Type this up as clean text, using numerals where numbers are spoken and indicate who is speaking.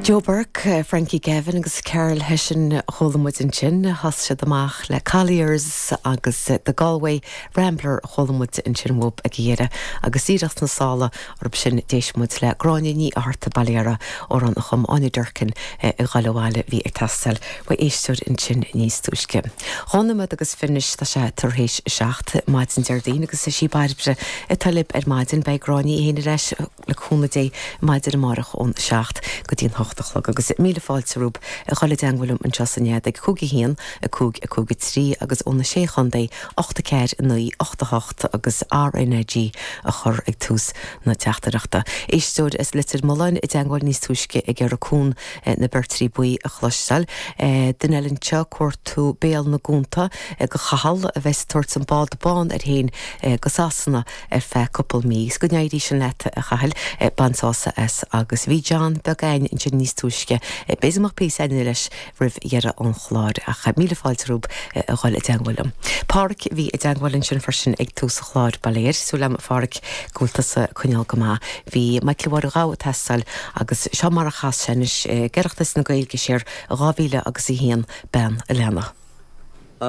Speaker 1: Joe Burke, Frankie Gavin agus Karl Hession a chuala muid ansin. Thosaigh siad amach le Colliers agus The Galway Rambler a chuala muid ansin uathub ag a dheireadh. Agus díreach sna sála orthu sin d'éist muid le Gráinne Ní Fhatharta, Baile Dara, amhrán a chum Áine Durkin ag Ghoil Abhaile bhí ag teastáil uaidh éisteoir ansin níos túisce. Dhá nóiméad agus 20 anois tá sé tar éis a 7 maidin Déardaoin agus is í Bairbre atá libh ar maidin. Beidh Gráinne í féin ar ais le cúnamh Dé maidin amárach ón 7 go dtí an 8 a chlog agus míle fáilte romhaibh a dhul i dteangmháil liom anseo sa nead ag 5 1 5 5 3 agus ó na Sé Chontae 8 4 9 8 8 agus RnaG a chur ag tús na teachtaireachta. Éisteoir as Leitir Mealláin i dteangmháil níos túisce ag iarraidh Cuan na Beirtrí Buí a chloisteáil. Duine eile anseo ag cuartú Béal na gCuanta go Cathal a bheas ag tabhairt an bád bán air féin go Sasana ar feadh cúpla mí. Is go n-éirí sin leat, a Chathail. Bain sásamh as. Agus bhí John beag againn ansin níos túisce. B'fhéidir go mbeadh píosa eile leis roimh dheireadh an chláir. Ach míle fáilte romhaibh a dhul i dteangmháil liom. Páraic a bhí i dteangmháil ansin freisin ag tús an chláir, ba léir. Súil agam, a Pháraic, go bhfuil tusa ag coinneáil go maith. Bhí Michael Mháire Ghabha ag teastáil agus seo mar a chas sé anois ag Oireachtas na Gaeilge siar i 2001, Bean a' Leanna.